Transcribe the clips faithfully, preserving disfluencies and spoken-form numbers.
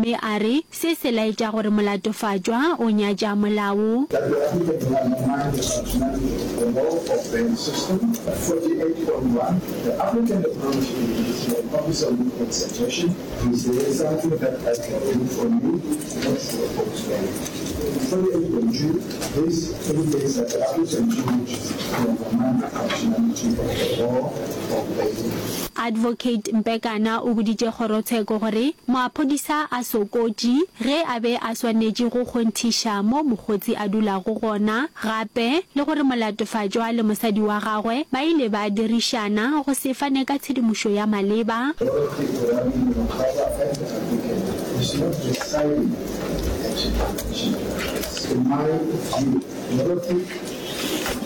gomme a re se se laetša gore molatofatšwa o nyatša molao. That the applicant will undermine the functionality of the law of bail system. forty-eight point one The applicant acknowledged the judicial officer with a suggestion. Is there something that I can do for you not to oppose bail? forty-eight point two This indicates that the applicant wishes to undermine the functionality of the law of bail. Advocate Mpekana o boditše kgorotsheko gore moaphodisa a sokotše ge a be a swanetše go kgonthiša mo mokgotsi a dulago gona gape le gore molatofatšwa le mosadi wa gagwe ba ile ba dirišana go se fane ka tshedimošo ya maleba. Dorothy Oarabile Mokgaba and the applicant is not residing at the mentioned address. In my view, Dorothy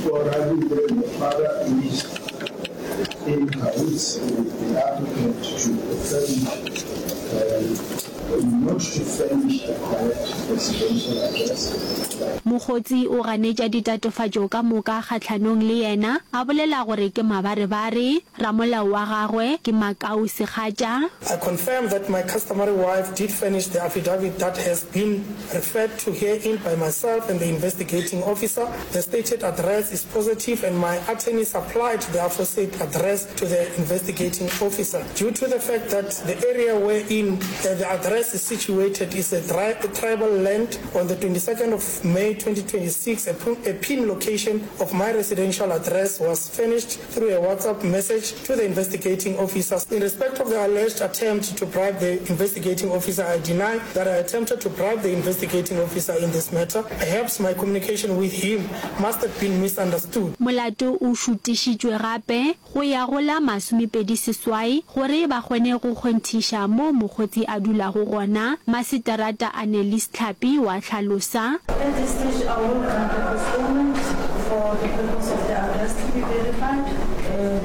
Oarabile Mokgaba is in cahoots with the applicant to furnish, uh, not to furnish the correct residential address. Mokgotsi o ganetša ditatofatšo ka moka kgahlanong le yena, a bolela gore ke mabarebare. Ramolao wa gagwe ke Makau Segatša. I confirm that my customary wife did furnish the affidavit that has been referred to herein by myself and the investigating officer. The stated address is positive and my attorney supplied the aforesaid address to the investigating officer. Due to the fact that the area wherein the address is situated is a tribal land, on the twenty-second of May twenty twenty-six, a pin location of my residential address was furnished through a WhatsApp message to the investigating officer. In respect of the alleged attempt to bribe the investigating officer, I deny that I attempted to bribe the investigating officer in this matter. Perhaps my communication with him must have been misunderstood. Molato o šutišitšwe gape go ya go la masomepedi seswai gore ba kgone go kgonthiša moo mokgotsi a dulago gona, Maseterata Annelies Tlhapi wa hlalosa. At this stage I will grant a postponement for the purpose of the address to be verified and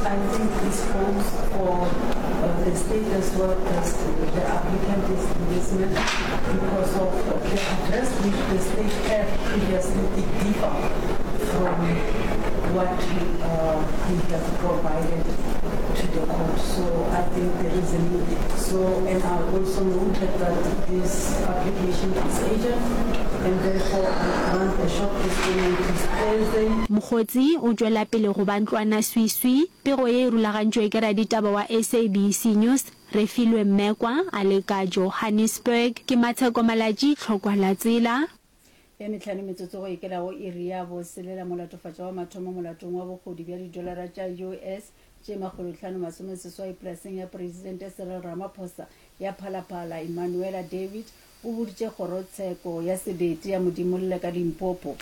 I think this goes for the state as well as the applicant is in this matter because of the address which the state had previously it differ from what uh, we have provided to the court. So I think there is a need. So, and I also noted that this application is urgent and therefore I grant a short postponement to Thursday. Mokgotsi o tšwela pele go ba ntlwanaswiswi. Pego ye e rulagantšwe ke raditaba wa S A B C News, Refilwe Mmekwa, a le ka Johannesburg. Ke Matsheko Malatji, Tlhokwa la Tsela. Ya mehlano metsotso go ikela go iri ya boselela, molatofatšwa wa mathomo molatong wa bohodu bja didolara tša U S tše makgolohlano masomeseswai polaseng ya Presidente Cyril Ramaphosa ya Phalaphala, Emanuela David o boditše kgorotsheko ya selete ya Modimolle ka Limpopo.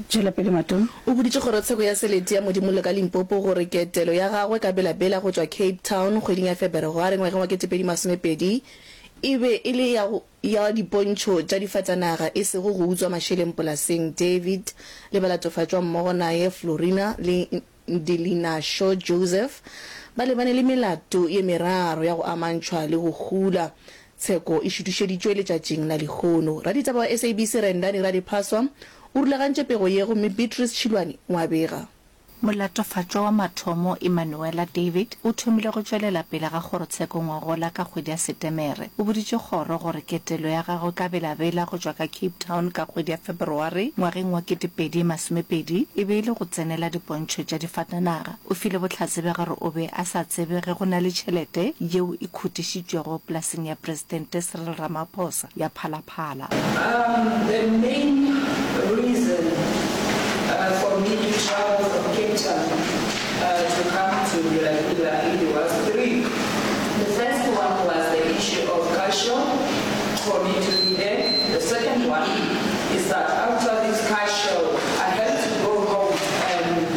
Tšwela pele Matome. O boditše kgorotsheko ya selete ya Modimolle ka Limpopo gore ketelo ya gagwe ka Bela-Bela go tšwa Cape Town kgweding ya Febereware ngwageng wa ketepedi masomepedi e be e le ya go ya dipontšho tša difatanaga e sego go utswa mašeleng polaseng. David le balatofatšwa mmogo naye Florina le Ndilinasho Joseph ba lebane le melato ye meraro ya go amantšhwa le go hula. Tsheko e šutišeditšwe letšatšing la lehono. Raditaba wa S A B C Rendani Radiphaswa o rulagantše pego ye gomme Beatrice Tšhilwane o a bega. Molatofatšwa wa mathomo Emanuela David o thomile go tšwelela pele ga kgorotsheko ngwagola ka kgwedi ya Setemere. O boditše kgoro gore ketelo ya gagwe ka Bela-Bela go tšwa ka Cape Town ka kgwedi ya Feberware ngwageng wa ketepedi masomepedi e be e le go tsenela dipontšho tša difatanaga. O file bohlatse bja gore o be a sa tsebe ge go na le tšhelete yeo e khutišitšwego polaseng ya Presidente Cyril Ramaphosa ya Phalaphala. Um, the main reason uh, for me to travel from Cape Town uh, to come to Bela Bela was three. The first one was the issue of car show, for me to be there. The second one is that after this car show, I had to go home and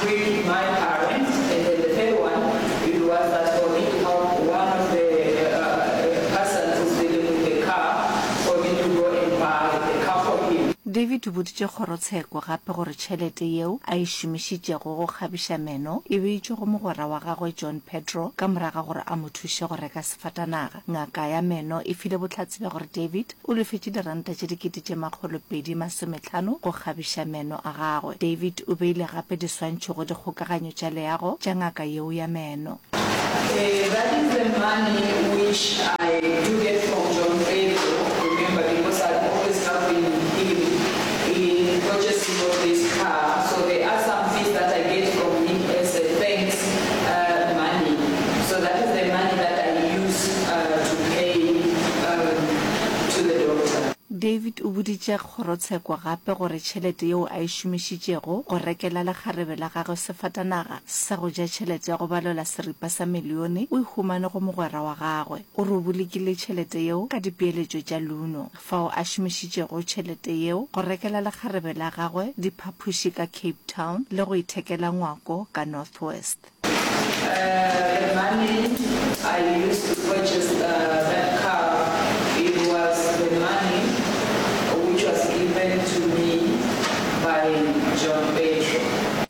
greet my parents. And then the third one, it was that for me to help one of the uh, persons who's dealing with the car, for me to go and buy the car for him. David o boditše kgorotsheko gape gore tšhelete yeo a e šomišitšego go kgabiša meno e beetšwe go mogwera wa gagwe John Pedro ka morago ga gore a mo thuše go reka sefatanaga. Ngaka ya meno e file bohlatse bja gore David o lefetše diranta tše dikete tše makgolo pedi masomehlano go kgabiša meno a gagwe. David o beile gape diswantšho go dikgokaganyo tša leago tša ngaka yeo ya meno. Uh, that is the money which I I do get from John Pedro, remember, because I'm always helping him in purchasing of this car. So there are some fees that I get from him as a thanks uh, money. So that is the money that I use uh, to pay um, to the doctor. David o boditše kgorotsheko gape gore tšhelete yeo a e šomišitšego go rekela lekgarebe la gagwe sefatanaga sa go ja tšhelete ya go balelwa seripa sa milione o e humane go mogwera wa gagwe. O re o bolokile tšhelete yeo ka dipeeletšo tša Luno, fao a šomišitšego tšhelete yeo go rekela lekgarebe la gagwe diphapoši ka Cape Town le go ithekela ngwako ka North West. Uh, the money I used to purchase uh, that car, it was the money which was given to me by John Pedro.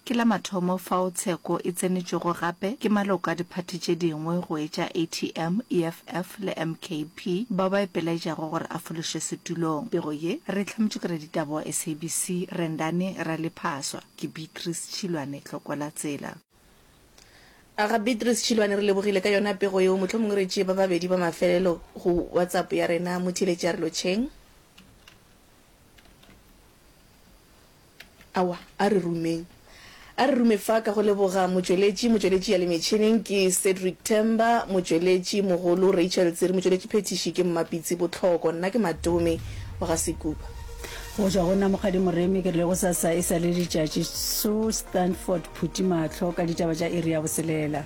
Ke la mathomo fao tsheko e tsenetšwego gape ke maloko a diphathi tše dingwe go etša A T M, E F F le M K P bao ba ipelaetšago gore a fološwe setulong. Pego ye re e hlametšwe ke raditaba wa S A B C Rendani Ralephaswa. Ke Beatrice Tšhilwane, Tlokwa la Tsela. Aga Beatrice Tšhilwane, re lebogile ka yona pego yeo. Mohlomongwe re tšee ba babedi ba mafelelo go WhatsApp ya rena. Motheeletši a re lotšheng. Aowa, a re rumeng. A re rume fa ka go leboga motšweletši, motšweletši ya le metšhineng ke Cedric Themba, motšweletši mogolo Rachel Tsiri, motšweletši phethiši ke Mmapitsi Botlhoko, nna ke Matome wa ga Sekupa. Go tšwa go nna Mokgadi Moremi, ke rile go sasa e sa le letšatši, Sue Stanford Phuti mahlo ka ditaba tša iri ya boselela.